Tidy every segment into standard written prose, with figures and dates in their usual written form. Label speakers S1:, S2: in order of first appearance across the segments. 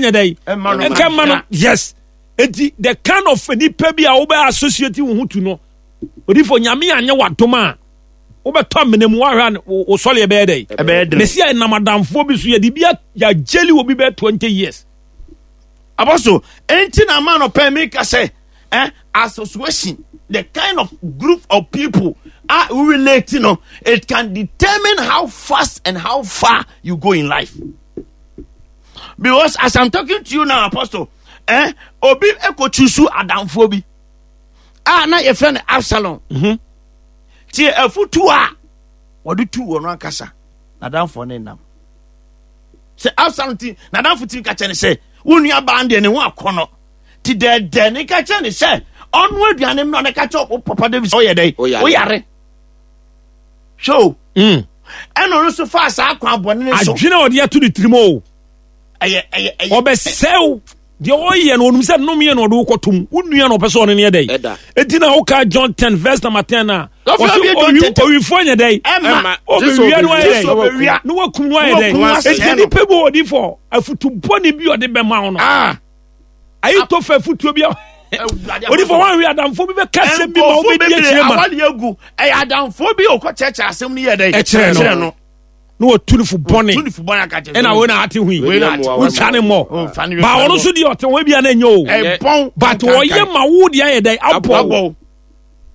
S1: nyɛ dɛn nka mma no. Yes, eti the kind of nipa bi a wobɛ associate wo ho to no, odifo Nyame anyɛ wadom a wobɛtɔ amena mu wahwɛ a wo sɔre ɛbɛyɛ dɛn?
S2: Ɛbɛyɛ den.
S1: Mesi a ɛnam adamfoɔ bi so yɛde bi yɛagyeli wɔ bi bɛyɛ 20 years.
S2: Apostle, enti na ama no pɛ mi ka sɛ eh, association, the kind of group of people a we relate no, it can determine how fast and how far you go in life. Because as I'm talking to you now, Apostle, eh, obi ekochusu adamfoɔ bi a na yɛfrɛ no Absalom. Tie afutuo a wɔde tu wɔn ankasa n'adamfoɔ ne nam. Sɛ Absalom ti n'adamfo ti ka kyerɛ ne sɛ wo nua baa deɛ ne ho akɔnɔ ti dɛɛdɛɛ ne ka kyerɛ ne sɛ ɔno aduane mmerɛ ne ka kyerɛ wo papa David sɛ ɔyɛ dɛ woyare hwɛ o. Ɛna ɔno nso faa saa kwan bɔne ne so.
S1: Adwene a ɔde ato ne tirim o.
S2: Ɛyɛ ɛyɛ ɛyɛ.
S1: Ɔbɛsɛw deɛ ɔyɛ no, ɔnum sɛ nnome na ɔde wokɔtom wo nua na ɔpɛ sɛ ɔne no yɛ dɛn. Enti na woka John 10 verse number 10 a ɔse owifoɔ nyɛ dɛn, ɔbɛwia no ayɛ dɛn na wakum no ayɛ dɛn. Enti nipa bi ɔdi fɔ afutu bɔne bi ɔde bɛma wo no, ayi tɔ fɛ afutuo bi a ɔdi fɔ wanwe adamfoɔ bi bɛka asɛm bi ma wobɛdi akyire ma
S2: ɛyɛ adamfoɔ bi ɔkɔ kyerɛkyerɛ asɛm no yɛ dɛn
S1: ɛkyerɛ no na wɔtu no fo bɔne ɛna wei na ate hui wotwa ne mmɔ ba ɔno nso deɛ ɔte ho bia na ɛnyɛ o but ɔyɛ ma wo deɛ ayɛ dɛn abɔ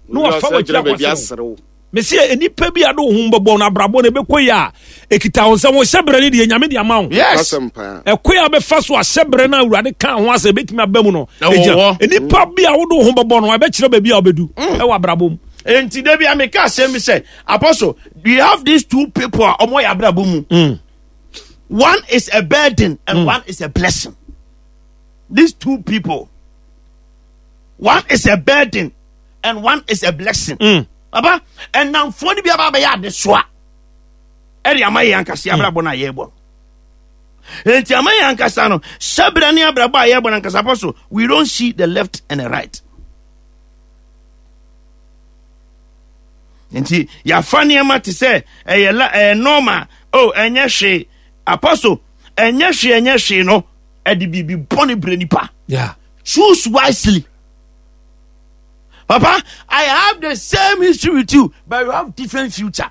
S1: na wafa w'akyi akɔserew mesi nnipa bi a de wo ho bɛbɔ no abrabɔ no ɛbɛkɔ yi a ɛkita wo nsɛm wo hyɛberɛ no deɛ Nyame de ama wo. Ɛkɔ yi a bɛfa so a hyɛberɛ no a Awurade ka ho asɛ ɛbɛtumi aba mu no ɛgyina nnipa bi a wode wo ho bɛbɔ no ɛbɛkyerɛ baabi a wobɛdu ɛwɔ abrabɔ mu.
S2: Enti da bi a meka asɛm bi sɛ, Apostle, we have these two people a ɔmo yɛ abrabɔ mu. One is a burden and one is a blessing. These two people, one is a burden and one is a blessing. Papa, ɛnamfoɔ no bi aba abɛyɛ adesoa ɛde ama yɛn ankasa abrabɔ no a yɛrebɔ no. Enti ama yɛn ankasa no, hyɛbrɛ ne abrabɔ a yɛrebɔ no ankasa, Apostle, we don't see the left and the right. Nti yɛafa nneɛma te sɛ ɛyɛ la ɛyɛ normal, oh ɛnyɛ hwee, Apostle, ɛnyɛ hwee ɛnyɛ hwee no ɛde biribi bɔne brɛ nipa. Choose wisely. Papa, I have the same history with you, but you have different future.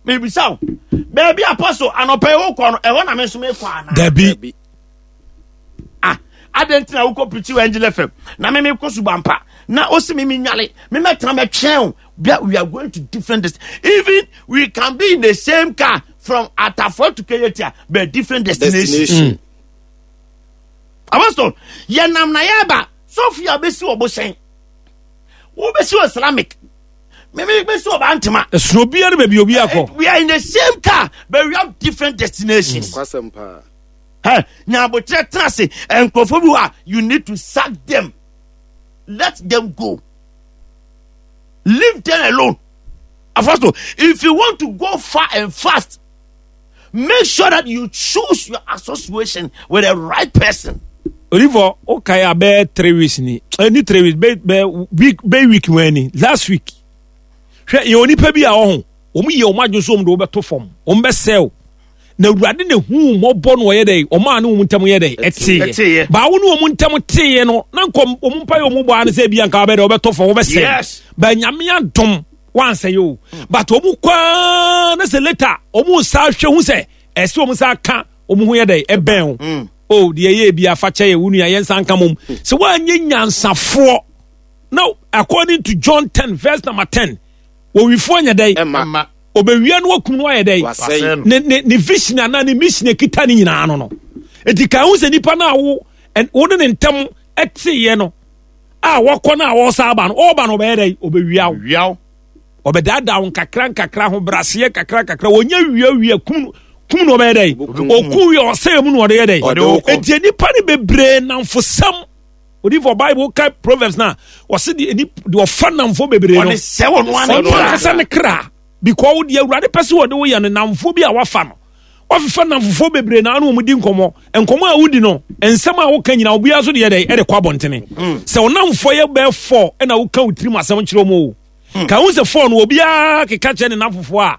S2: Maybe so. Baby Apostle, anɔpɛ yi wokɔ no, ɛhɔ na me nso mekɔ anaa?
S1: Dabi.
S2: Ah, adɛn nti na wokɔ preach wɔ Angel FM na me mekɔ Subampa na osi me menwale me mɛtena mɛtwɛn o. We are going to different dest-, even we can be in the same car from Atafo to Kejetia, but different destinations.
S3: Destination.
S2: Apostle, yɛnam na yɛba Sophia bɛsi wɔ Bohyɛn, wobɛsi wɔ Islamic, meme bɛsi wɔ Bantama.
S1: Ɛsono obiara ne baabi obi akɔ.
S2: We are in the same car, but we have different destinations.
S3: Kwasɛm paa.
S2: Hey, nyabotrɛ tena ase. Nkurɔfoɔ bi wɔ a, you need to sack them. Let them go. Leave them alone. Apostle, if you want to go far and fast, make sure that you choose your association with the right person.
S1: Olivor, okay, I bear 3 weeks ni. Any 3 weeks, be be week, be week when last week. Hwɛ, yɛ onipa bi a ɔho. Wɔn yɛ wɔn adwene so wɔn de wɔbɛto fam. Wɔn bɛsɛw. Na Awurade na hu mmɔbɔ no ɔyɛ dɛ, ɔmaa ne wɔn ntam yɛ dɛ, ɛteeɛ. Baawo ne wɔn ntam teeɛ no, na nkɔ wɔn mpa yɛ wɔn bɔ ano sɛ ebi anka wɔbɛ dɛ wɔbɛtɔ fam, wɔbɛsɛe. Ba Nyame adom wansɛe o. But wɔn kwaa na sɛ later wɔn nsa ahwɛ hu sɛ ɛsɛ wɔn nsa aka wɔn ho yɛ dɛ ɛbɛn o. O deɛ ɛyɛ ebi afa kyɛ yɛ wo nua yɛn nsa nka mom. Sɛ wɔanyɛ nyansafoɔ na according to John 10 verse number 10 wɔwifoɔ nyɛ dɛ
S3: Ɛma.
S1: Ɔbɛwia no wakum no ayɛ dɛ
S3: Wasɛe no.
S1: Ne ne ne vision anaa ne mission ekita ne nyinaa no no. Eti kan ho sɛ nipa no a wo wo ne ne ntam ɛteeɛ no a wɔkɔ no a wɔsa aba no ɔba no ɔbɛyɛ dɛ ɔbɛwia wo.
S2: Wia wo.
S1: Ɔbɛdaadaa wo nkakra nkakra ho braseɛ kakra kakra wɔnyɛ wia wia kum no kum no ɔbɛyɛ dɛ ɔku wia ɔsɛe mu na ɔde yɛ dɛ.
S3: Ɔde wo kɔ.
S1: Eti nipa no bebree namfosɛm. Odifo Bible ka Proverbs na wɔsi de ni de ɔfa namfo bebree no.
S2: Ɔde sɛ wɔn ano
S1: Ɔno ankasa ne kra because wo deɛ Awurade pɛ sɛ wɔde wo yɛ no namfo bi a wafa no. Wafefa namfofoɔ bebree na ano wɔn di nkɔmɔ. Nkɔmɔ a wodi no nsɛm a woka nyinaa obiara so deɛ dɛ ɛde kɔ abɔntene. Sɛ ɔnamfoɔ yɛ bɛɛ fɔ ɛna woka wo tirim asɛm kyerɛ wɔn o. Ka ho sɛ fɔ no obiara keka kyerɛ ne namfofoɔ a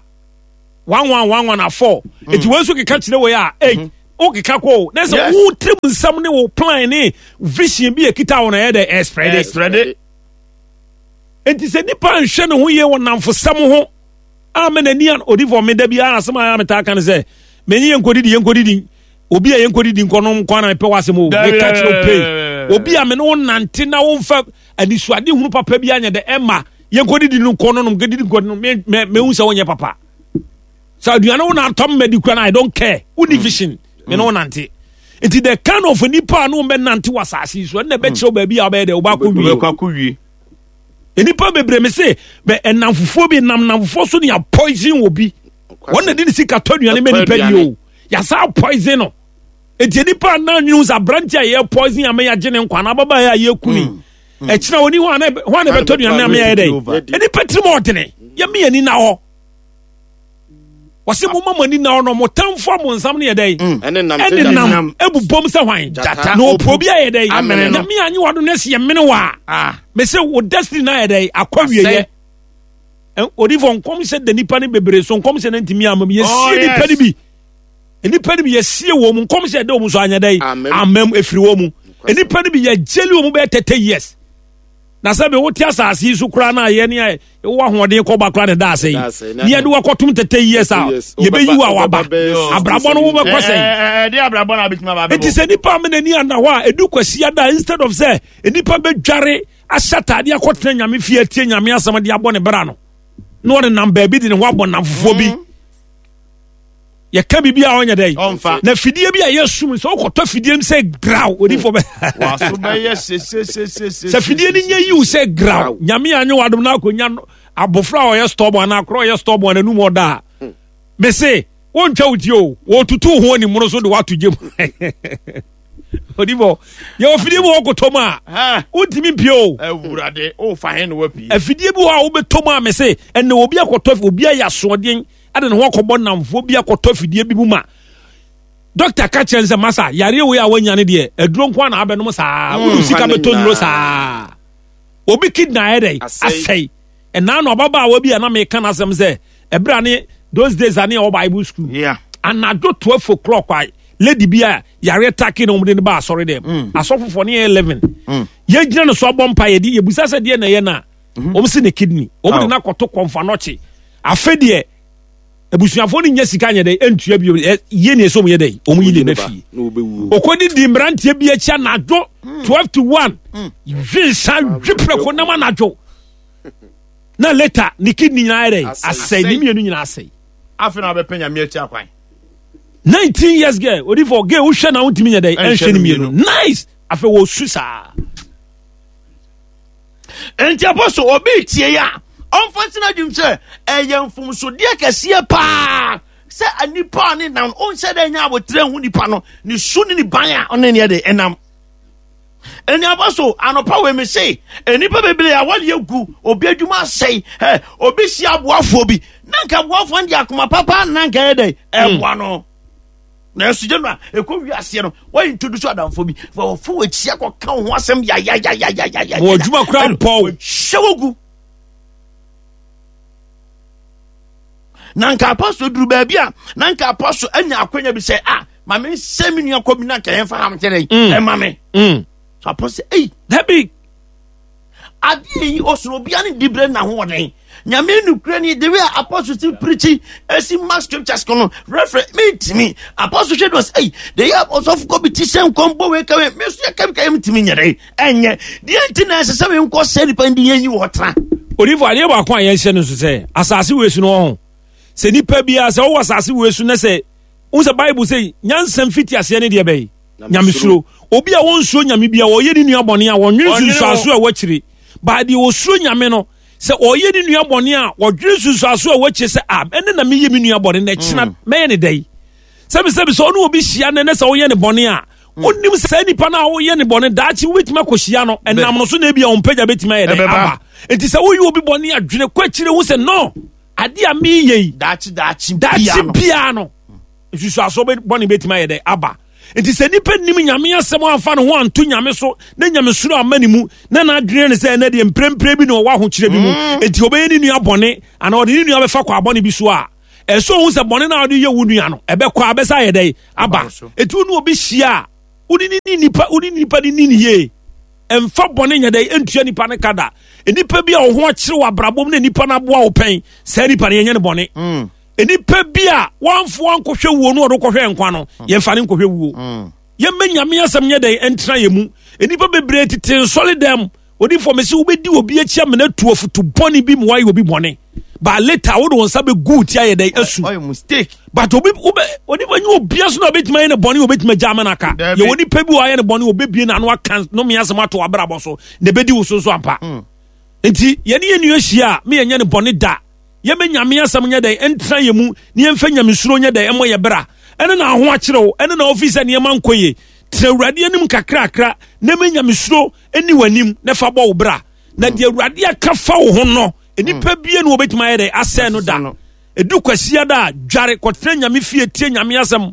S1: 1 1 1 1 a 4. Eti wɔn nso keka kyerɛ wɔ yɛ a 8. wokeka kɔ o na sɛ wo tirim nsɛm ne wo plan ne vision bi ekita wo na ɛyɛ dɛ ɛsprɛde.
S2: Ɛsprɛde.
S1: Nti sɛ nipa nhwɛ ne ho yie wɔ namfosɛm ho a mɛ n'ani an odifo me da bi a asɛm a metaa ka ne sɛ menye yɛn nkɔdidi yɛn nkɔdidi obi a yɛn nkɔdidi nkɔnom kwan na mepɛ w'asɛm o meka kyerɛ wo pei obi a me ne wo nante na womfa anisoade hunu papa bi anyɛ dɛ ɛma yɛn nkɔdidi no nkɔ no nom nkɔdidi nkɔ no me me mehu sɛ wonyɛ papa sɛ aduane wo na atɔm madi kura no I don't care wonni mm. vision me ne wo nante nti the kind of nipa a no bɛnante wɔ asase yi so ɛnna ɛbɛkyerɛw baabi a wobɛyɛ dɛ wobɛakɔ wie nnipa bebree me se bɛ ɛnamfofoɔ bi nam namfofoɔ so ne yɛ poison wɔ bi wɔn na de ne sika tɔ aduane mɛ nipa di o yasa poison no eti nipa anan nwene sɛ aberante a yɛ poison ama yɛagye ne nkwa na ababaa a yɛku ni mm. mm. ɛkyina oni hɔ ana hɔ ana bɛtɔ aduane ama yɛ dɛ nipa tirim ɔdene yɛmi yɛn ni na hɔ wɔsi mo ma mo ani na hɔ no mo tamfo a mo nsam no yɛ dɛ mm. ɛne nam ebubom sɛ hwan na opuo bi ayɛ dɛ nyame anyi wa do na esi yɛ mene wa ah. mese wo destiny na ayɛ dɛ akɔ wie yɛ odifo nkɔmhyɛ da nipa no bebree so nkɔmhyɛ no ntumi ama mu yɛsie oh, nipa no bi nipa no bi yɛsie wɔ mu nkɔmhyɛ da wɔn so anyɛ dɛ amam efiri wɔ mu nipa no bi yɛgyeli wɔn bɛyɛ 30 years na sɛ bi wote asase yi so koraa na yɛ ne wowɔ ahoɔden kɔba koraa ne da ase yi ne yɛde wakɔtom 30 years a yɛbɛyi wo a waba abrabɔ no wobɛkɔ sɛn ɛnti sɛ nipa ama n'ani ana hɔ a ɛdu kwasi ada instead of sɛ nipa bɛdware ahyɛ ataadeɛ akɔtena nyame fie atie nyame asɛm de abɔ ne bra no na ɔde nam baabi de ne ho abɔ nam fofoɔ bi mm. yɛka biribi a ɔnyɛ dɛ na fidie bi a yɛsum sɛ wokɔtɔ fidie m sɛ graw odifo bɛ sɛ fidie no nyɛ yiw sɛ graw nyame anyɛ wadom no akɔnya abɔfra a ɔyɛ stɔbɔ anaa akorɔ ɔyɛ stɔbɔ ananum ɔda a hmm. mese wontwa wo ti o wɔtutu ho animono so de woato gyam odifo yɛwɔ fidie bi wɔ kɔtɔ mu a wontumi mpie o afidie bi wɔ a wobɛtɔ mu a mese ɛnɛ obi akɔtɔ obi ayɛ asoɔden ɛde ne ho akɔbɔ nnamfoɔ bi akɔtɔ afidie bi mu ma dɔkta ka kyerɛ sɛ masa yareɛ wei a wanya no deɛ aduro nko na abɛnom saa mm, wode sika bɛtɔ nnuro saa obi kidney ayɛ dɛ asɛe ɛnaa no ababaawa bi a na meka no asɛm sɛ ɛberɛ a ne those days a ne ɛwɔ bible school yeah. anadwo 12 o'clock a lady bi a yareɛ take na wɔde no ba asɔre dɛm mm. asɔfofoɔ ne yɛ 11 mm. yɛgyina no so abɔ mpa yɛde yɛbusa sɛ deɛ na ɛyɛ no a mhm. wɔn si ne kidney wɔn de no akɔto kɔnfa nɔkye afe deɛ abusuafoɔ no nya sika nyɛ dɛ ntua bio yie ne ɛsɛ wɔn yɛ dɛ wɔn yi ne ba fie okodi di mmeranteɛ bi akyi anadwo hmm. 12 to 1 hmm. hwi nsa hwi prɛko nam anadwo na later ne kidney nyinaa yɛ dɛ asɛe ne mmienu nyinaa asɛe.
S2: afei na wabɛpɛ nyame akyi akwan.
S1: 19 years girl odifo girl wohwɛ na wontumi nyɛ dɛ ɛnhwɛ ne mmienu nice afei wɔsu saa.
S2: Enti apɔso obi tie yi a, ɔmfa nsi n'adwene sɛ ɛyɛ mfomsodeɛ kɛseɛ paa sɛ nipa a ne nam ɔnhyɛ dɛ nya abotrɛ hu nipa no ne su ne ne ban a ɔne neɛ de ɛnam. Ɛni apɔso anɔpa wei me se nnipa bebree a wɔde agu obi adwuma asɛe ɛ obi si aboafoɔ bi na nka aboafoɔ no de akoma papa na nka yɛ dɛ ɛboa no. Nanso gye no a ɛkɔ wiaseɛ no wɔyɛ introduce adamfo bi fa wɔfo wɔakyi akɔka wo ho asɛm yayayayayaya
S1: wɔ adwuma kora mpɔw
S2: hyɛ wo gu na nka apostle duru baabi a na nka apostle anya akwanya bi sɛ ah ma me nsɛ me nua kɔ bi na nka yɛmfa ham kyerɛ ɛma me so apostle ei
S1: dabi
S2: Adeɛ yi ɔsono obia ne dibrɛ na ahoɔden. Nyame nukura ni the way apostle si preachi esi ma scriptures kono reference me ntimi apostle hwɛ no sɛ the way apostle kɔ bi ti sɛ nkɔm bɔ wei kawe me so yɛ kawe kawe ntimi nyɛ dɛ ɛnyɛ deɛ nti na ɛsɛ sɛ me nkɔ sɛ nipa ndi yɛn yi wɔ tra.
S1: Odifo adeɛ baako a yɛnhyɛ no nso sɛ asase wei so no ɔho sɛ nipa biara sɛ ɔwɔ asase wei so na sɛ wohu sɛ bible sɛ nyansa mfiti aseɛ ne deɛ bɛyi nyamesuro obi a wɔnsuro nyame bia wɔyɛ ne nua bɔne a wɔnwene nsunsuaso a wɔakyire baa deɛ ɔsuro nyame no sɛ ɔyɛ ne nua bɔne a wɔdwene nsunsuaso a wɔakyire sɛ a ɛne na meyɛ me nua bɔne na ɛkyena mm. mɛyɛ ne dɛn sɛbisɛbi sɛ ɔne obi hyia nɛ ne sɛ woyɛ ne bɔne a mm. wonim sɛ nipa no a woyɛ ne bɔne daakye wobɛtumi akɔhyia no ɛnam no so na ebia ɔmpagya bɛtumi ayɛ dɛn aba nti sɛ woyɛ obi bɔne a dwene kɔ akyire ho sɛ no adeɛ a meyɛ yi
S2: daakye daakye
S1: biara no nsusuasoɔ bɔne bɛtumi ayɛ dɛ aba nti sɛ nipa nim nyame asɛm amfa ne ho anto nyame so na nyamesuro amma ne mu na n'adwene ne sɛ ɛnɛ deɛ mprempren bi na ɔwɔ ahokyerɛ bi mu mm. nti ɔbɛyɛ ne nua bɔne anaa ɔde ne nua bɛfa kɔ abɔne bi so a Ɛsɛ ohun sɛ bɔne no a wode yɛ wo nua no, ɛbɛkɔ abɛsa ayɛ dɛn aba. Eti wo ne obi hyia a, wode ne ni nipa, wode nipa ne ni ne yie. Ɛmfa bɔne nyɛ dɛn ntua nipa no ka da. Nipa bi a wo ho akyere wɔ abrabɔ mu na nipa no aboa wo pɛn, saa nipa no yɛnyɛ no bɔne. Nipa bi a wamfo ankɔhwɛ wuo no ɔde kɔhwɛ nkwa no, yɛmfa no nkɔhwɛ wuo. Yɛmmɛ Nyame asɛm nyɛ dɛn ɛntena yɛ mu. Nnipa bebree tete nsɔre dɛm. Odifoɔ mese wobɛdi obi akyi amena tu afutu bɔne bi ma wayɛ obi bɔne. But later wode wo nsa bɛgu wo ti ayɛ dɛn asu. But obi wobɛ onipa nye obia so na obɛtumi ayɛ ne bɔne obɛtumi agya ama no aka. Yɛwɔ nipa bi wɔ ayɛ ne bɔne obɛbie n'ano aka nome asɛm ato abrabɔ so na ɛbɛdi wo so nso ampa. Nti yɛne yɛn nua hyia a me yɛnyɛ ne bɔne da. Yɛmɛ Nyame asɛm nyɛ dɛn ɛntena yɛ mu ne yɛmfa nyamesuro nyɛ dɛn ɛmmɔ yɛ bra. Ɛne na ho akyerɛ wo, ɛne na ofi sɛ nneɛma nkɔ yie. Tena Awurade anim kakrakra na ɛmɛ nyamesuro ɛni w'anim na fa bɔ wo bra. Na deɛ Awurade aka fa wo ho no, nnipa bie na wɔbɛtumi ayɛ dɛn asɛe no da. Ɛdu kwasia da a, dware kɔtena Nyame fie tie Nyame asɛm.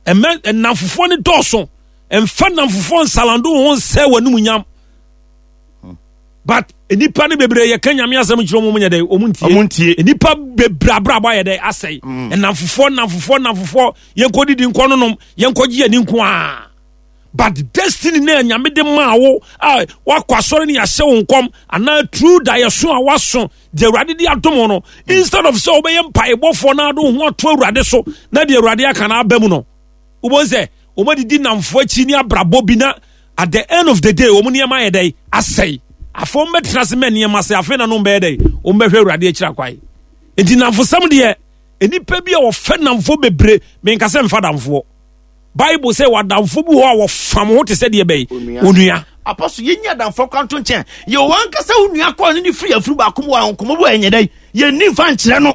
S1: Ɛmɛ nnamfofoɔ no dɔɔso. Ɛmfa nnamfofoɔ nsalando wo ho nsɛe w'anum nyam. But nnipa no bebree yɛka Nyame asɛm kyerɛ wɔn nyɛ dɛ wɔn ntie.
S2: Wɔn ntie.
S1: Nnipa bebree abrabɔ ayɛ dɛ asɛe. Nnamfofoɔ nnamfofoɔ nnamfofoɔ yɛnkɔ didi nkɔ nonom yɛnkɔ gye yɛn nko ara. But destiny na Nyame de maa wo a wakɔ asɔre ne yɛahyɛ wo nkɔm anaa true daeɛso a waso deɛ Awurade de adom no instead of sɛ wobɛyɛ mpaebɔfoɔ na ade wo ho ato Awurade so na deɛ Awurade aka no aba mu no wobɛhu sɛ wɔn adidi nnamfoɔ akyi ne abrabɔ bi na at the end of the day wɔn nneɛma ayɛ dɛ asɛe. Afei wɔn bɛtena ase mɛ nneɛma asɛe afei na no bɛyɛ dɛ wɔn bɛhwɛ Awurade akyiri akwae. Nti nnamfosɛm deɛ nnipa bi a wɔfɛ nnamfoɔ bebree menka sɛ mfa damfoɔ. Bible sɛ wadamfo bi wɔ hɔ a wɔfam ho te sɛ deɛ bɛyi onua.
S2: Apostle yɛnyi adamfoɔ kora nto nkyɛn yɛ wɔn ankasa wo nua kɔɔ ne ne firi afuru baako mu wɔ nkɔmmɔ bi wɔ ɛnyɛ dɛ yɛnni mfa nkyerɛ no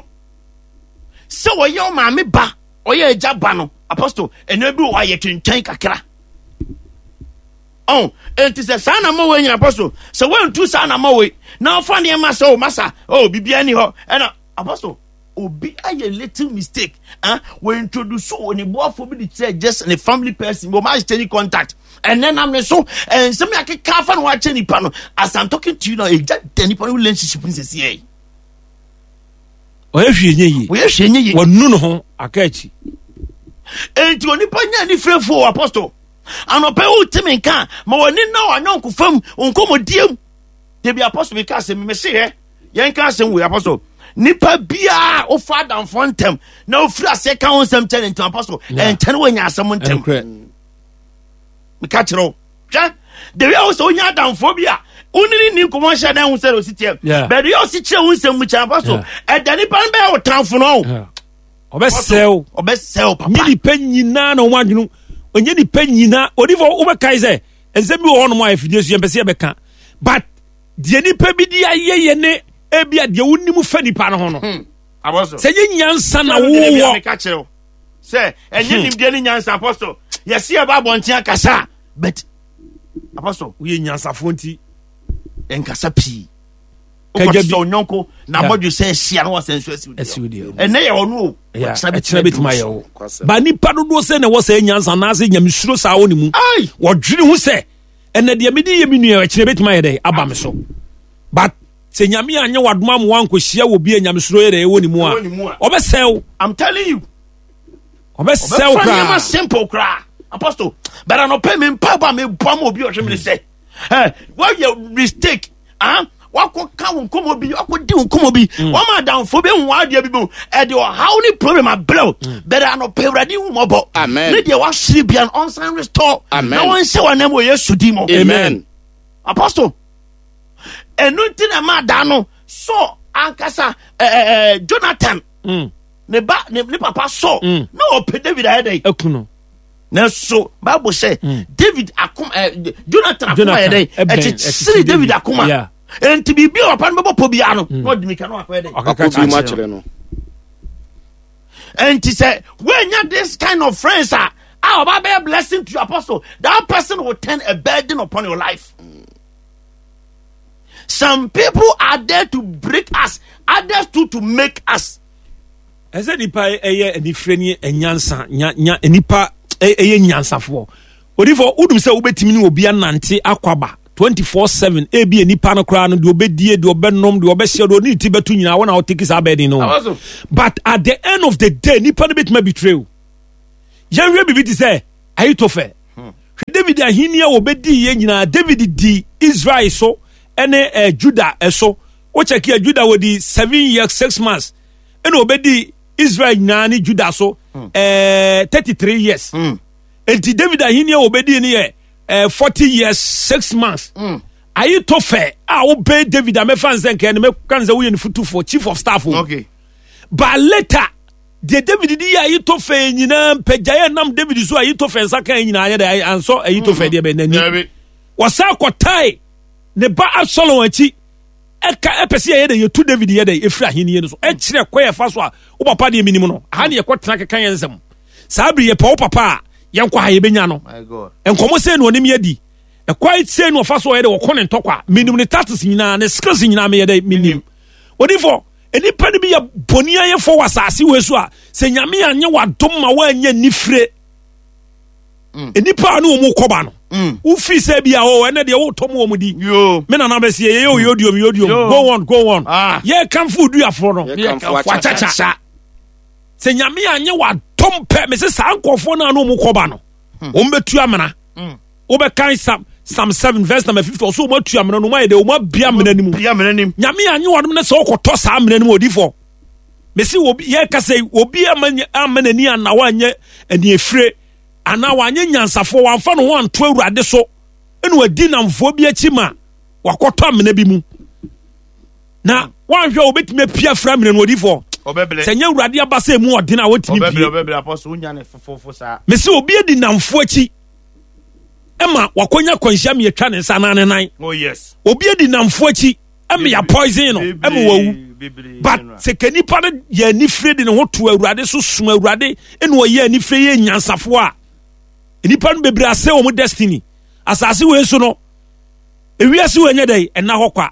S2: sɛ wɔyɛ ɔmaame ba ɔyɛ agya ba no. Apostle ɛnna bi wɔ hɔ a yɛtwentwɛn kakra ɔn enti sɛ saa na ma wɔ nyina apostle sɛ wɔntu saa na ma wɔ na ɔfa nneɛma sɛ o masa o biribiara ni hɔ ɛna apostle obi ayɛ little mistake ah wɔ introduce wɔ ne boafo bi de kyerɛ just ne family person bi wɔn exchange contact ɛnɛ nam ne so nsɛm yɛ akeka afa na wɔakyɛ nipa no as i'm talking to you now egya da nipa no relationship nsɛsi yɛ.
S1: Ɔyɛ hwee nyɛ yie.
S2: Ɔyɛ hwee nyɛ yie.
S1: Wanu ne ho aka akyi.
S2: Enti onipa nya anifirefo wɔ apɔstol. Anɔpɛ wo te me nka ma w'ani nna w'anyɔnkofa mu nkɔmmɔdie mu. Dabi apɔstol mi ka asɛm mi mese hɛ yɛn ka asɛm wei apɔstol. Nipa biara wofa adamfoɔ ntɛm na ofiri aseɛ ka ho nsɛm kyɛ ne ntɛm apɔstol ɛnkyɛn wɔnya asɛm ntɛm. Meka kyerɛ wo. Hwɛ the way a wosɛ wonya adamfoɔ bi a wone ne ni nkɔmmɔ nhyɛ dɛn ho sɛ ɔsi teɛ but the way a ɔsi kyerɛ wo nsɛm mu kyerɛ afa so ɛda nipa no bɛyɛ wo tamfo no
S1: ɔbɛsɛw
S2: ɔbɛsɛw papa
S1: nye nipa nyinaa na wɔn adwene onye nipa nyinaa odifo wobɛkae sɛ nsɛm bi wɔ hɔnom a afidie so yɛmpɛ sɛ yɛbɛka but deɛ nipa bi de ayɛ yɛ ne ebi a deɛ wonim fa nipa no ho no hmm. sɛ nye nyansa na wowɔ
S2: sɛ ɛnyɛ hmm. nimdeɛ ne nyansa apostle yɛsi ɛba abɔnten akasa but apostle
S1: woyɛ nyansafoɔ nti
S2: nkasa pii wokɔte sɛ ɔnyɔnko na abɔdwe sɛ ahyia na wasɛ nso asiw deɛ ɛnɛ yɛ ɔno o
S1: ɛkyena bɛtumi ayɛ wo ba nipa dodoɔ sɛ na ɛwɔ sɛ nyansa anaasɛ nyamesuro saa wɔ ne mu wɔdwene ho sɛ ɛnɛ deɛ mede yɛ me nua ɛkyena bɛtumi ayɛ dɛ aba me so but sɛ nyame anyɛ wadoma ma wankɔhyia wɔ bi a nyamesuro yɛ dɛ ɛwɔ ne mu a ɔbɛsɛe wo.
S2: I'm telling you.
S1: Ɔbɛsɛe wo koraa.
S2: Nneɛma simple koraa. Apostle, but anɔpɛ me mpa ba me bɔ ma obi ɔhwɛ me sɛ, eh, wɔyɛ mistake, ah, wakɔ ka wo nkɔmɔ bi, wakɔ di wo nkɔmɔ bi, mm. wɔn adamfo bi nwa adeɛ bi mu, ɛde ɔhaw ne problem abrɛ wo, mm. but anɔpɛ awurade hu mɔbɔ.
S3: Amen.
S2: Ne deɛ wahyere bia no ɔnsan restore.
S3: Amen.
S2: Na wɔnhyɛ wɔn anam wɔ Yesu din mu.
S3: Amen.
S2: Apostle, ɛnu nti na ɛma da no Saul ankasa ɛɛ Jonathan mm. ne ba ne ne papa Saul mm. na ɔpɛ David ayɛ dɛ
S1: ɛku no
S2: nanso Bible sɛ mm. David akoma ɛ Jonathan akoma yɛ dɛ ɛkyekyere David akoma nti biribi a papa no bɛbɔ pɔ biara no na ɔde mika no akɔyɛ dɛ
S3: ɔkaka bi mu akyerɛ no
S2: nti sɛ woanya this kind of friends a a ɔba bɛyɛ blessing to your apostle that person will turn a burden upon your life. Mm. Some people are there to break us, others too to make us.
S1: ɛsɛ nipa ɛyɛ anifere ne nyansa nya nya nipa ɛyɛ nyansafoɔ odifo wodum sɛ wobɛtumi ne obi anante akɔ aba 24/7 ebi nipa no koraa no deɛ ɔbɛdie deɛ ɔbɛnom deɛ ɔbɛhyɛ deɛ ɔne ti bɛto nyinaa wɔn a ɔteki saa bɛɛden no but at the end of the day nipa no bɛtumi abitire o yɛnhwɛ biribi te sɛ Ahitofel hwɛ David ahenni a wɔbɛdi yɛ nyinaa David di Israel so ɛne eh, Judah ɛso wokyɛke a Judah wɔdi 7 years 6 months ɛna wɔbɛdi Israel nyinaa ne Judah so eh, 33 years enti David ahenni a wɔbɛdi no yɛ eh, 40 years 6 months. Ahitofel a wobɛn David a mɛfa nsɛ nkɛɛ no mɛka no sɛ woyɛ ne fotufoɔ, chief of staff o. But later deɛ David de yɛ Ahitofel nyinaa mpagyaeɛ nam David so Ahitofel nsa kan nyinaa yɛ dɛ ansɔ Ahitofel deɛ bɛ n'ani. Wɔsan kɔtae ne ba Absalom akyi ɛka ɛpɛ sɛ yɛyɛ dɛ yɛtu David yɛ dɛ ɛfiri ahenni no so ɛkyerɛ kɔ yɛfa so a wo papa deɛ menim no aha ne yɛkɔ tena keka yɛn nsɛm saa bere yɛpɛ wo papa a yɛnkɔ ha yɛbɛnya no nkɔmmɔ sɛ no ɔnim yɛdi ɛkwan sɛ no ɔfa so ɔyɛ dɛ ɔkɔ ne ntɔkwa menim ne tactics nyinaa ne skills nyinaa meyɛ dɛ menim odifo nnipa no bi yɛ bɔne ayɛfo wɔ asase wei so a sɛ Nyame anyɛ wadom ma woanyɛ nifire nnipa a ne wɔn kɔba no wofiri sɛ bi a o ɛnɛ deɛ wotɔ mu wɔn di me nana bɛsi yɛ yɛ oyodiom yodiom go on go on ah. Yɛ kanfo duafoɔ no akyakya sɛ Nyame anyɛ wadom pɛ mese saa nkɔfoɔ no a ne wɔn kɔba no wɔn bɛtu amena. Wobɛkan Psalm 7 verse number 50 ɔsɛ wɔn atu amena no wɔn ayɛ dɛ wɔn abia amena no mu. Nyame anyɛ wadom no sɛ wɔkɔtɔ saa amena no mu odifoɔ mesi obi yɛ kasa yi obi ama ama n'ani ana wanyɛ aniefire anaa wanyɛ nyansafoɔ wamfa ne ho anto Awurade so ɛna wadi namfoɔ bi akyi ma wakɔtɔ amena bi mu na wanhwɛ a obetumi apia afira amena no odifoɔ sɛ nyɛ Awurade aba sɛ emu ɔden a wɔntumi pie mesi obi adi namfoɔ akyi ɛma wakɔnya kwanhyia ma yɛtwa ne nsa anaa ne nan. Oh, yes. Obi adi namfo akyi ɛma yɛ poison no ɛma wawu. But sɛ ka nipa no yɛ anifire de ne ho to Awurade so som Awurade ɛna ɔyɛ anifire yɛ nyansafoɔ a nipa no bebree asɛ wɔn destiny. Asase wei so no ewiase wei nyɛ dɛ ɛna hɔ kwa.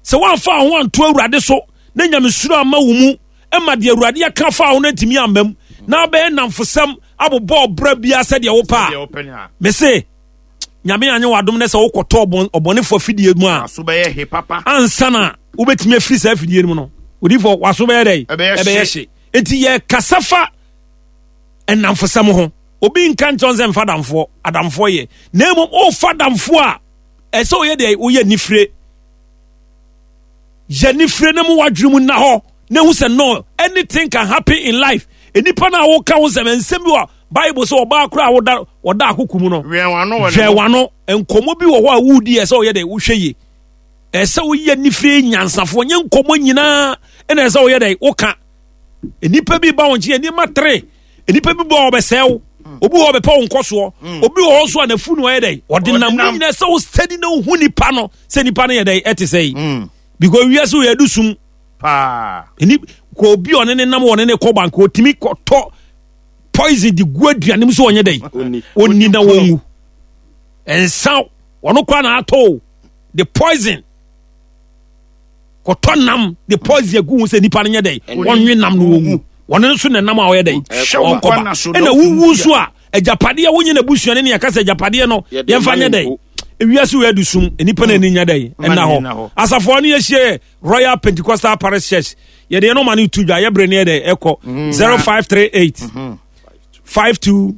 S1: Sɛ wɔamfa ho anto Awurade so na nyamesuro ama wo mu ɛma deɛ Awurade aka fa ho no ntumi amma mu na abɛyɛ nnamfosɛm abobɔ ɔbra biara sɛdeɛ wopɛ a mese Nyame anyɛ w'adom ne sɛ wokɔtɔ ɔbɔnefoɔ afidie mu a ansa na wobɛtumi afiri saa afidie no mu no odifoɔ waso bɛyɛ dɛ ɛbɛyɛ hye. Enti yɛkasa fa nnamfosɛm ho. Obi nka nkyɛn sɛ mfa damfoɔ adamfoɔ yɛ na mmom wofa damfoɔ a ɛsɛ woyɛ deɛ woyɛ nifire yɛ nifire na mu wadwene mu nna hɔ na ehu sɛ no anything can happen in life. Nnipa no a woka ho sɛm nsɛm bi wɔ Bible sɛ ɔbaa koraa a woda ɔda akoko mu no hwɛ wano nkɔmmɔ bi wɔ hɔ a wodi ɛsɛ ɔyɛ dɛ wohwɛ yie ɛsɛ woyɛ nifire nyansafoɔ nyɛ nkɔmmɔ nyinaa ɛna ɛsɛ ɔyɛ dɛ woka. Nnipa bi ba wɔn nkyɛn nneɛma tere nnipa bi bɔ ɔbɛsɛe wo obi wɔ ɔbɛpɛ wo nkɔsoɔ obi wɔ hɔ nso a n'afu no ɔyɛ dɛ ɔde nam mu nyinaa sɛ wo steady na wohu nipa no sɛ nipa no yɛ dɛ ɛte sɛ yi because wiase wɔ yɛdu sum
S2: paa
S1: ɛni kɔ obi ɔne ne nam ɔne ne kɔ bank otumi kɔtɔ poison de gu aduane mu so ɔnyɛ dɛ ɔni na wɔnwu nsa ɔno kora na atɔ o the poison kɔtɔ nam de poison agu ho sɛ nipa no nyɛ dɛ ɔnwe nam no wɔnwu ɔno nso na nam a ɔyɛ dɛ ɔkɔba ɛna wuwu nso a agyapadeɛ wonye n'abusua ne ne yɛka sɛ agyapadeɛ no yɛmfa nyɛ dɛ ewiase wɔ adu sum nipa no ani nya dɛ ɛna hɔ asafoɔ no yɛhyia Royal Pentecostal Parish Church yɛde yɛn nɔma no to dwa yɛbrɛ ne yɛ dɛ ɛkɔ 0538 52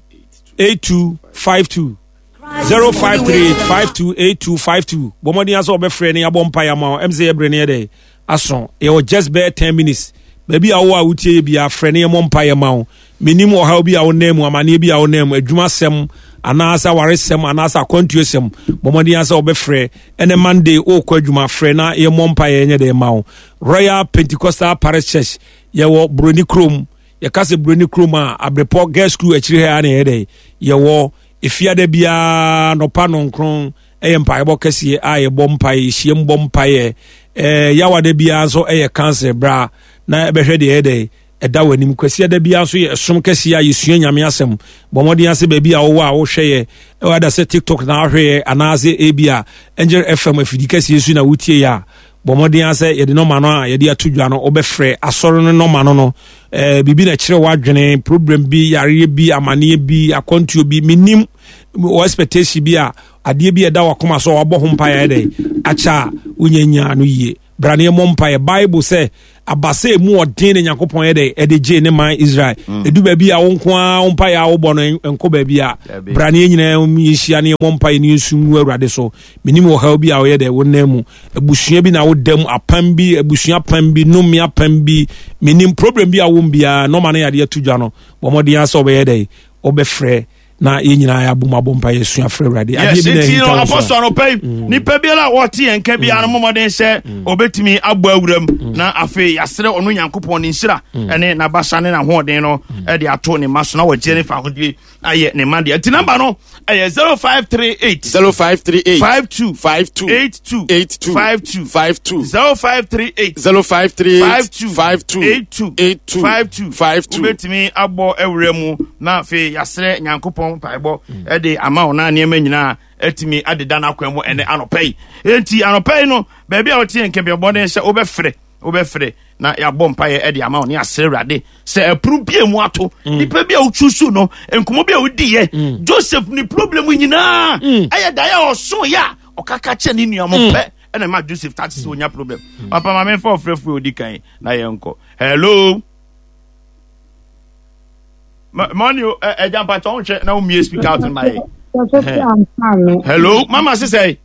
S1: 82 52 0538 52 82 52 bɔ mmɔden asɛ wɔbɛfrɛ ne yɛabɔ mpa yɛ ama wo ɛm sɛ yɛbrɛ ne yɛ dɛ aso yɛwɔ just bɛyɛ 10 minutes baabi a wowɔ a wotie yɛ biara frɛ ne yɛmmɔ mpa yɛ ma wo. Menim ɔhaw bi a wonam mu, amanneɛ bi a wonam mu, adwumasɛm anaasɛ awaresɛm anaasɛ akwantuosɛm. Bɔ mmɔden asɛ wɔbɛfrɛ ɛnɛ Monday wokɔ adwuma frɛ na yɛmmɔ mpa yɛ nyɛ dɛ ma wo. Royal Pentecostal Parish Church yɛwɔ Buroni kurom. Yɛka sɛ Buroni kurom a Abrepɔ Girls School akyiri ha na yɛyɛ dɛ yɛwɔ efiada biara nɔpa nɔnkron ɛyɛ mpaebɔ kɛseɛ a yɛbɔ mpaeɛ yɛhyiam bɔ mpaeɛ ɛɛ yawada biara nso ɛyɛ cancer bra na ɛbɛhwɛ deɛ ɛyɛ dɛ ɛda w'anim. Kwasiada biara nso yɛ ɛsom kɛseɛ a yɛsua Nyame asɛm. Bɔ mmɔden ase baabi a wowɔ a wohwɛ yɛ ɛwɔ ada sɛ TikTok na ahwɛ yɛ anaasɛ ebi a Angel FM afidi kɛseɛ so na wotie yɛ a bɔ mmɔden asɛ yɛde nɔma no a yɛde ato dwa no wobɛfrɛ asɔre no nɔma no no biribi na ɛkyerɛ w'adwene problem bi yareɛ bi amaneɛ bi akwantuo bi menim. wɔ expectation bi a adeɛ bi a ɛda wakoma so a wabɔ ho mpaeɛ ayɛ dɛ akyɛ a wonya nyaa no yie. Bra ne yɛmmɔ mpaeɛ. Bible sɛ abasa emu ɔden na Nyankopɔn yɛ dɛ ɛde gyee ne man Israel. Edu baabi a wo nko ara wo mpaeɛ a wobɔ no nkɔ baabi a bra ne yɛn nyinaa yɛnhyia ne yɛmmɔ mpaeɛ ne yɛnsu ngu Awurade so. Menim ɔhaw bi a ɔyɛ dɛ wo nan mu. Abusua bi na woda mu, apam bi, abusua apam bi, nnome apam bi. Menim problem bi a wom biara, nɔma no yɛade ato dwa no. Bɔ mmɔden ara sɛ wobɛyɛ dɛ wobɛfrɛ na yɛn nyinaa yɛabom abɔ mpa yɛsua frɛ Awurade.
S2: Yes, nti no apɔsɔ no pɛ mm. nipa biara a wɔte yɛn nka biara no mmɔden sɛ mm. ɔbɛtumi abɔ awuram mm. na afei yɛasrɛ ɔno Nyankopɔn ne nhyira ɛne n'abasa ne n'ahoɔden no ɛde ato ne ma so na wɔgye ne fa ahodie ayɛ ne ma deɛ. Nti namba no ɛyɛ 0538
S3: 0538
S2: 52
S3: 52
S2: 82
S3: 82
S2: 52
S3: 52
S2: 0538
S3: 0538
S2: 52
S3: 52
S2: 82
S3: 82
S2: 52
S3: 52.
S2: Wobɛtumi abɔ awura mu na afei yɛasrɛ Nyankopɔn mpaebɔ ɛde ama wo na nneɛma nyinaa atumi adeda no akwan mu ɛnɛ anɔpa yi. Enti anɔpa yi no baabi a wote yɛn nkɛmpiabɔ ne sɛ wobɛfrɛ wobɛfrɛ na yɛabɔ mpaeɛ ɛde ama wo ne yɛasrɛ Awurade sɛ ɛpono bi a mu ato mm. nipa bi a wotwusu no nkɔmmɔ bi a wodiiɛ mm. Joseph ne problem nyinaa mm. ɛyɛ daeɛ a ɔsoeɛ a ɔkaka kyɛ ne nua mo pɛ ɛna ma Joseph tate sɛ ɔnya problem. Papa ma memfa ɔfrɛfoɔ ɔdi kan na yɛnkɔ. Hello, mɔni ɛgya mpakyɛ ɔnhwɛ na womie speak out ma yɛ. Hello, mama sesɛ.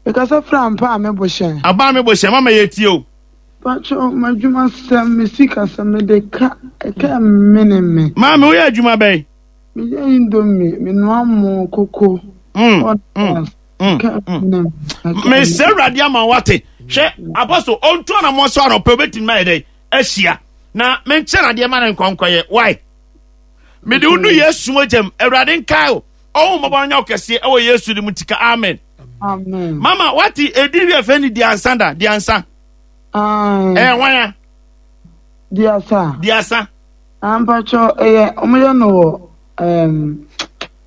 S4: Mekasa firi ampa a me bo hyɛn.
S2: Aba a me bo hyɛn, mama yɛ tie o.
S4: Pacho, m'adwuma sɛm, me sika sɛm, me de ka, ɛka mene me.
S2: Maame, woyɛ adwuma bɛn?
S4: Me yɛ indomie, me noa mo, koko, all that. Ɛka mene me.
S2: Mesrɛ Awurade ama wate. Hwɛ, Apostle, ɔntu anamɔ so anɔpɛ, obɛtumi ayɛ dɛn? Ahyia. Na menkyɛ no adeɛ ma no nkɔnkɔyɛ. Why? Mede wo nu Yesu mogyam. Awurade nkae o. Ɔwo mmɔbɔ no nyɛ wo kɛseɛ ɛwɔ Yesu de mu tika. Amen.
S4: Amen.
S2: Mama, wate edin bi a ɛfɛ ne Diansa da? Diansa. Ɛyɛ hwan a?
S4: Diasa.
S2: Diasa.
S4: Ampakyɛ ɛyɛ wɔn yɛ no wɔ um,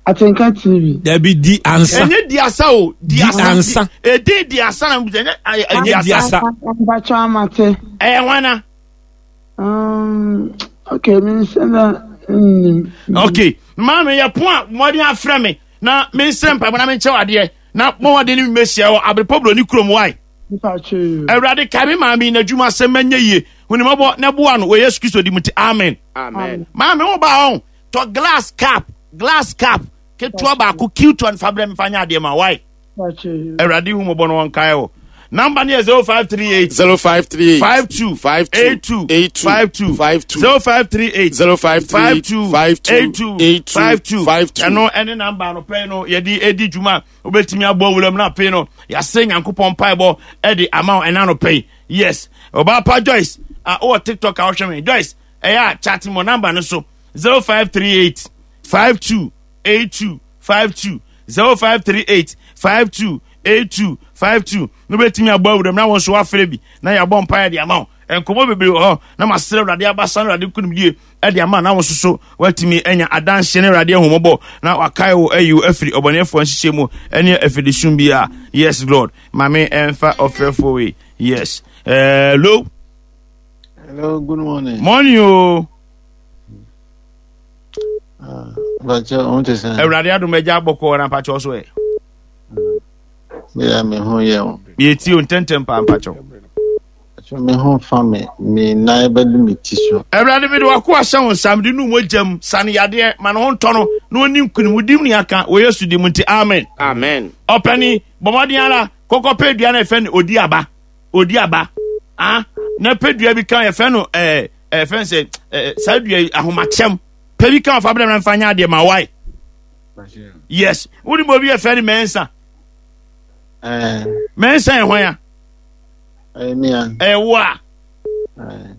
S4: Atenka TV.
S1: Dabi di ansa.
S2: Ɛnyɛ diasa o.
S1: Diasa. Di ansa.
S2: Edin diasa na ɛnyɛ
S1: ɛnyɛ diasa.
S4: Ampakyɛ amate.
S2: Ɛyɛ hwan a?
S4: Okay, mi nsɛ na nnim.
S2: Okay, maame yɛ pon a mmɔden afrɛ me na me nsrɛ mpaebɔ na me nkyɛw adeɛ na mmɔden ne me mehyia wɔ Abrepɔ Buroni kurom wae. Awurade kae me maame yi n'adwuma sɛ mɛnyɛ yie hunimɔbɔ na boa no wɔ Yesu Kristo di mu ti amen.
S3: Amen.
S2: Maame wo ba ɔn tɔ glass cup glass cup ketewa baako cute one fa brɛ me fa nyɛ adeɛ ma wae. Awurade hu mɔbɔ no wɔnkae wo. Number no yɛ 0538
S3: 0538
S2: 52
S3: 52
S2: 82
S3: 82
S2: 52
S3: 52
S2: 0538
S3: 0538
S2: 52
S3: 52
S2: 82
S3: 82
S2: 52
S3: 52.
S2: Ɛno ɛne number no pɛn no yɛde edi dwuma wobɛtumi abɔ wuram no afei no yɛasɛ Nyankopɔn mpaebɔ ɛde ama wo ɛna no pɛn. Yes, ɔbaa pa Joyce a wowɔ TikTok a wohwɛ me Joyce ɛyɛ a chat mo number no so 0538 52 82 52 0538 52 82 52 no bɛtumi abɔ awuram na wɔn nso wafrɛ bi na yɛabɔ mpaeɛ de ama wo. Nkɔmmɔ bebree wɔ hɔ na masrɛ Awurade abasa no Awurade nkonimdie de ama na wɔn nso so watumi anya adanseɛ ne Awurade ahummɔbɔ na wakae wo ayi wo afiri ɔbɔneɛfoɔ nhyehyɛ mu ne afidisum biara. Yes Lord, maame ɛmfa ɔfrɛfoɔ wei. Yes, hello.
S5: Hello, good morning.
S2: Morning o.
S5: Awurade
S2: adom agya bɔkɔɔ na mpakyɛw so ɛ.
S5: Bia me ho yɛ o.
S2: Yɛtie o ntɛntɛm paa mpakyɛw.
S5: Me ho fa me, me nan bɛdu me ti so.
S2: Awurade mede wako ahyɛ wo nsa, mede nu mogya mu, sane yadeɛ, ma ne ho ntɔ no, na ɔni nkunim, wo dim ne aka, wɔ Yesu di mu nti, amen.
S3: Amen.
S2: Ɔpɛni, bɔ mmɔden ara, kɔkɔ pɛ dua na ɛfɛ no odi aba, odi aba, ah, na pɛ dua bi ka yɛfɛ no ɛɛ. Eh, fɛn sɛ eh, saa dua yi ahomakyɛm pɛ bi ka ɔfa brɛ mfa nyɛ adeɛ ma wae. Yes, wone ma obi yɛfɛ ne mɛnsa mɛnsa yɛ hwan a ɛyɛ wo a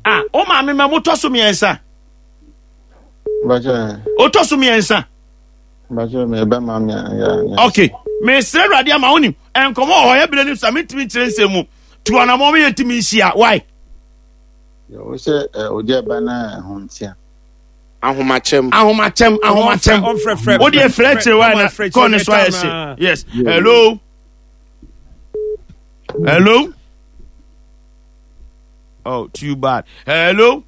S2: a wo maame ma motɔ so mmiɛnsa wotɔ so mmiɛnsa. Ok, mesrɛ Awurade ama wonim nkɔmmɔ wɔ hɔ yɛberɛ no sa mentumi nkyerɛ nsɛm mu tu anammɔ meyɛ ntumi nhyia wae.
S5: Wo sɛ ogya ba na ɛho ntia.
S3: Ahomakyɛm.
S2: Ahomakyɛm, ahomakyɛm. Wo deɛ frɛ kyerɛ wa na kɔɔ ne so ayɛ hye. Yes. Hello. Hello. Oh, too bad. Hello.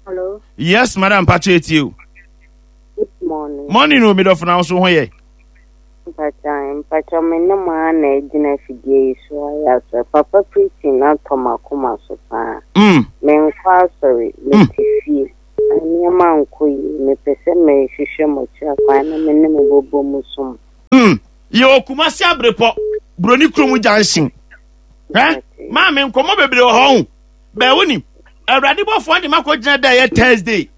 S6: Hello.
S2: Yes, madam Pacho etie o.
S6: Morning.
S2: Morning o, medɔfo na wo so ho yɛ.
S6: Mpakyɛ, mpakyɛ me ne mo ara na agyina afidie yi so ayɛ asɔre. Papa preaching no atɔ m'akoma so paa. Menkɔ asɔre, mete fie. Nneɛma nkɔ yie. Mepɛ sɛ mehwehwɛ mo akyiri akwan na me ne mo bɛbɔ mu som.
S2: Yɛwɔ Kumasi Abrepɔ, Buroni kurom junction. Hwɛ, maame nkɔmmɔ bebree wɔ hɔ ho. Bɛɛ wonim, Awurade bɔfoɔ de makɔ gyina da ɛyɛ Thursday.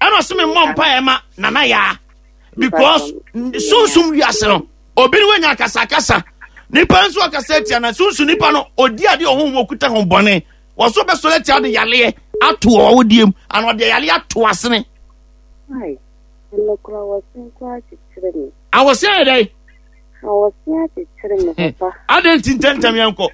S2: Ɛna ɔse me mmɔ mpaeɛ ma Nana Yaa. Because sunsum wiase no, obi ne wanya akasakasa. Nipa nso akasa atia na sunsun nipa no, odi adeɛ ɔho mu okuta ho bɔne. Wɔso bɛsɔre atia de yaleɛ ato ɔwodie mu, ana ɔde yaleɛ ato asene.
S6: Ai, ɛno koraa wɔsen koraa kyekyere me.
S2: Awɔsen ayɛ dɛn?
S6: Awɔsen akyekyere me papa.
S2: Adɛn nti ntɛntɛm yɛnkɔ?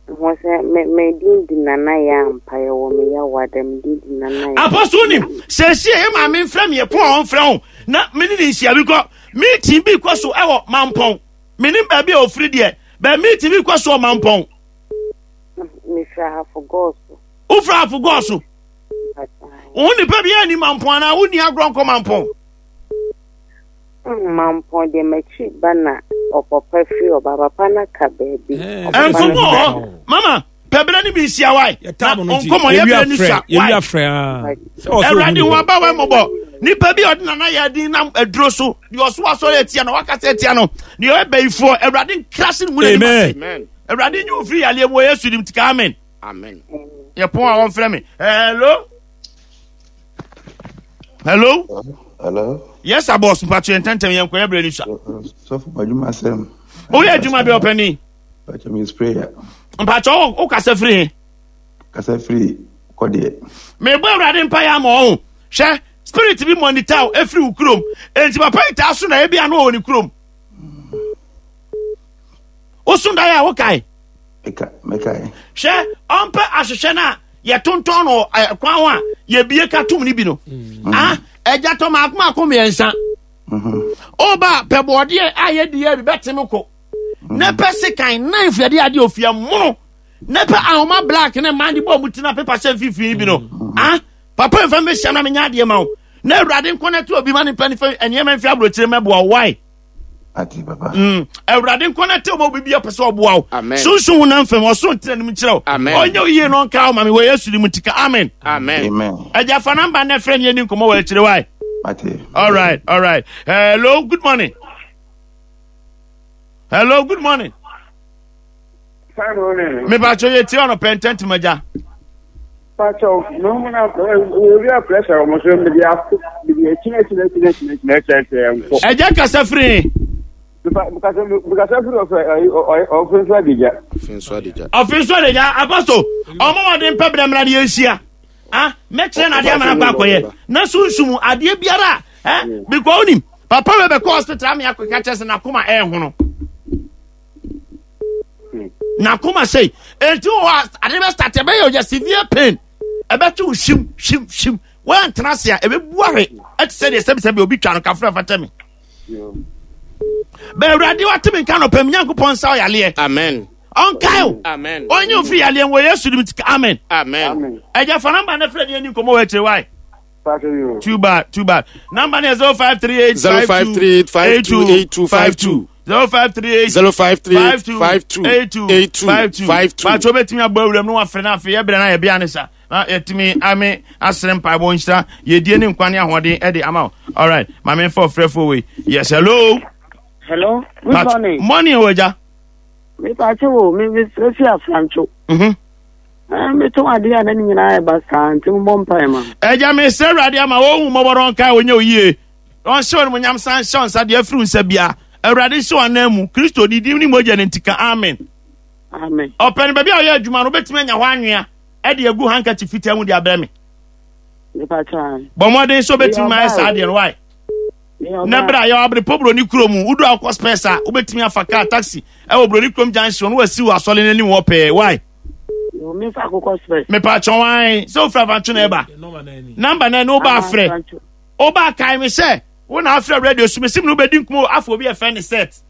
S6: Ho sɛ me me din di nana yɛ ampa yɛ wɔ me yawa dɛ me din di nana yɛ.
S2: Apɔso nim sɛsi ɛyɛ maame nfrɛ me ɛko a ɔnfrɛ ho na me ne ne nhyia bi kɔ meeting bi kɔ so ɛwɔ mampɔn me nim baabi a ofiri deɛ bɛn meeting bi kɔ so wɔ mampɔn.
S6: Mefiri ahafo gɔɔso.
S2: Wofiri ahafo gɔɔso. Wo nipa bi ani mampɔn anaa wonni agorɔ nkɔ mampɔn.
S6: Mampɔn deɛ m'akyi ba na ɔpapa firi ɔba papa no ka baabi.
S2: Nkɔmɔ wɔ hɔ mama pɛbrɛ ne bi nhyia wae na nkɔmɔ yɛ brɛ ne sua wae. Awurade ho aba wa mmɔbɔ nipa bi a ɔde nana yɛ adin nam aduro so deɛ ɔso asɔre atia no wakasa atia no deɛ ɔyɛ bayifoɔ Awurade nkrase ne mu n'anim ase Awurade nyi ofiri yadeɛ mu wɔ Yesu dim tika amen.
S3: Amen.
S2: Yɛ pɔn a wɔmfrɛ me hello. Hello.
S5: Hello.
S2: Yes, sir, boss. Mpatso yɛn ntɛntɛm yɛn nkɔyɛ brɛ ni sa.
S5: Sɔfo madwuma asɛm.
S2: Oyɛ adwuma bɛ ɔpɛni.
S5: Mpatso mi sprayer.
S2: Mpatso o kasa firi he.
S5: Kasa firi kɔdeɛ.
S2: Mebɔ awurade mpa yɛ ama ɔho. Hwɛ spirit bi monitor wo efiri wo kurom. Enti papa yi taa so na ebi ano wɔ ne kurom. Woso dan a wokae.
S5: Mekae.
S2: Hwɛ ɔmpɛ ahwehwɛ no a yɛtontɔn no kwan ho a yɛbie ka tom no bi no. Mm. Ah, ɛgya tɔ maako maako mmiɛnsa. Mm-hmm. Ɔba pɛ bɔɔdeɛ a yɛdi yɛ bi bɛte me kɔ. Mm-hmm. Ne pɛ sekan knife yɛde adeɛ ofia mono. Ne pɛ ahoma black ne mmaa de bɔ ɔmo ti na pepa hyɛ mfimfini bi no. Mm-hmm. Ah, papa nfa mbɛhyia na menya adeɛ ma wo. Na awurade nkɔ na te obi ma ne pɛ ne fɛ nneɛma mfi aburokyire mɛboa why?
S5: Ati papa.
S2: Awurade nkɔ na te ɔma obi bi ɔpɛ sɛ ɔboa wo. Sunsun ho nam fam ɔsoro ntena nim nkyerɛ wo. Ɔnyɛ wo yie no ɔnka wo ma me wɔ Yesu di mu tika. Amen.
S3: Amen.
S5: Amen.
S2: Ɛgya fa namba na frɛ ne yɛni nkɔmmɔ wɔ akyire wae.
S5: Ati.
S2: All right, all right. Hello, good morning. Hello, good morning. Mepakyɛ yɛ tie ɔno pɛ ntɛntɛm agya.
S7: Pakyɛ mehu na obi a pressure wɔn so mede ato mede akyina akyina akyina akyina akyina akyina akyina nkɔ.
S2: Ɛgya kasa firi.
S7: Kasa firi ɔfɛ ɔfɛ nso adigya.
S3: Ɔfɛ nso adigya.
S2: Ɔfɛ nso adigya apostle ɔmo wɔde mpɛ brɛ mmerɛ de yɛnhyia. Ah mɛkyerɛ na adeɛ ama no akɔ akɔyɛ na sunsum adeɛ biara eh because onim papa wei bɛkɔ hospital ame akɔka kyerɛ sɛ n'akoma ɛɛhono. N'akoma sei enti wɔ hɔ a ade bɛ start ɛbɛyɛ ɔyɛ severe pain ɛbɛtwe wo hyim hyim hyim wɔantena ase a ɛbɛbu ahwe ɛte sɛ deɛ sɛbisɛbi obi twa no kafra fata mi bɛ awurade wate me nka nɔpɛ me nyankopɔn nsa ɔyaleɛ
S3: amen
S2: ɔnkae o
S3: amen
S2: ɔnyɛ ofiri yaleɛ wɔ yesu dim amen
S3: amen
S2: ɛgya fa namba ne frɛ ne ani nkɔmmɔ wɔ akyire wae Too bad, too bad. Number is 0538
S3: 0538 528252.
S2: 0538
S3: 0538 52
S2: 82
S3: 52.
S2: Patro betumi abɔ awuram no wafrɛ no afei yɛbrɛ no a yɛbea ne sa na yɛtumi ame asere mpaebɔ nhyira yɛdie ne nkwa ne ahoɔden ɛde ama wo. All right, ma memfa ɔfrɛfoɔ wei. Yes, hello.
S4: Hello, good morning.
S2: Morning, Oja.
S4: Me pache wo, me me fi afrancho.
S2: Mhm.
S4: Eh, metɔn adeɛ a na ne nyinaa ɛba saa nti mobɔ mpae ma.
S2: Agya mesrɛ Awurade ama wɔhu mmɔbɔ na ɔnkae wɔnyɛ oyie na ɔnhyɛ wɔn animuonyam san nhyɛ wɔn nsa deɛ afiri wo nsa bia Awurade nhyɛ wɔn anan mu Kristo ne din ne mogya no nti ka amen.
S4: Amen.
S2: Ɔpɛ no baabi a ɔyɛ adwuma no wobɛtumi anya hɔ anwea ɛde agu handkerchief fitaa mu de abrɛ me. Bɔ mmɔden sɛ wobɛtumi ma ayɛ saa adeɛ no wae. Na berɛ a yɛwɔ abrepɔ buroni kurom wodu akɔ spɛs a wobɛtumi afa kaa taxi ɛwɔ buroni kurom junction no wasi wɔ asɔre no anim hɔ pɛɛ wae. Mepatwɔ wan sɛ wofiri afantwe na ɛba namba no ɛne woba afrɛ woba kae me sɛ wo na afrɛ radio so mesim ne wobɛdi nkɔmmɔ afɔ obi ɛfɛ ne set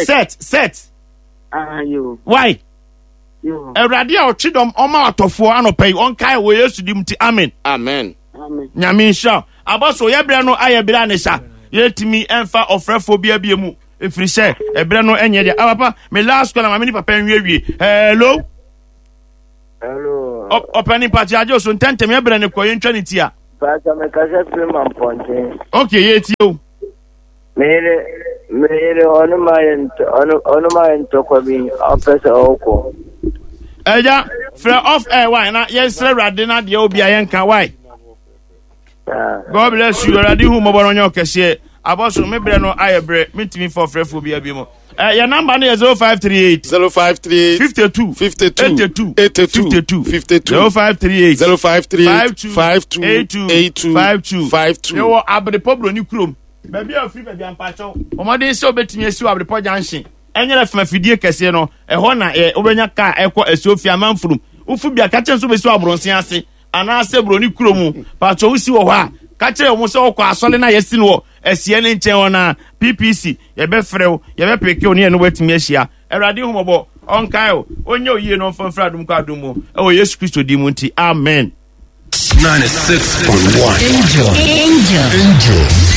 S2: set set why awurade a ɔtwe dɔm ɔma atɔfoɔ anɔpa yi ɔnkae wɔ yesu dim nti amen
S3: amen.
S7: Amen.
S2: Nyame nhyira wo. Abɔso, yɛ berɛ no ayɛ berɛ a ne sa. Yɛntumi ɛmfa ɔfrɛfoɔ bi abie mu. Ɛfiri sɛ, ɛberɛ no ɛnyɛ deɛ. Ah, papa, me last call na maame ne papa nwiewie. Hello?
S7: Hello.
S2: Ɔpɛni mpatse agye so ntɛntɛm yɛ berɛ no kɔ yɛntwa ne ti a.
S7: Pàṣẹ mi kasa firi ma mpɔnten.
S2: Okay, yɛ tie o.
S7: Me yere, me yere ɔno ma yɛ ntɔ ɔno ɔno ma yɛ ntɔkwa bi ɔpɛ sɛ ɔkɔ.
S2: Ɛgya frɛ off air why na yɛnsrɛ awurade na deɛ obi a yɛnka why. God bless you awurade hu mmɔbɔ no ɔnyɛ ɔkɛseɛ abɔso me brɛ no ayɛ brɛ mentumi fa ɔfrɛfoɔ bi abi mu. Eh, yɛ number no yɛ 0538
S3: 0538
S2: 52
S3: 52
S2: 82
S3: 82
S2: 52
S3: 52
S2: 0538
S3: 0538
S2: 52
S3: 52
S2: 82
S3: 82
S2: 52
S3: 52.
S2: Yɛwɔ Abrepɔ Buroni kurom. Baabi a ofiri baabi ampakyɛw. Wɔmmɔden sɛ wobɛtumi asi wɔ Abrepɔ junction. Ɛnyɛ fam afidie kɛseɛ no, ɛhɔ na ɛ wobɛnya kaa ɛkɔ Asuofie Amanfurum. Wofu bi a, ka kyerɛ nso wobɛsi wɔ Abrɔnsen ase anaasɛ Buroni kurom. Pakyɛw wosi wɔ hɔ a, ka kyerɛ wɔn sɛ wɔkɔ asɔre no a yɛasi no wɔ Asia no nkyɛn hɔ no a, PPC, yɛbɛfrɛ wo, yɛbɛpeke wo ne yɛne wo atumi ahyia. Awurade hu mmɔbɔ, ɔnkae wo, ɔnyɛ wo yie na ɔmfa mfiri adom kɔ adom mu, ɛwɔ Yesu Kristo din mu nti, amen.
S8: 96.1
S9: Angel. Angel.
S8: Angel.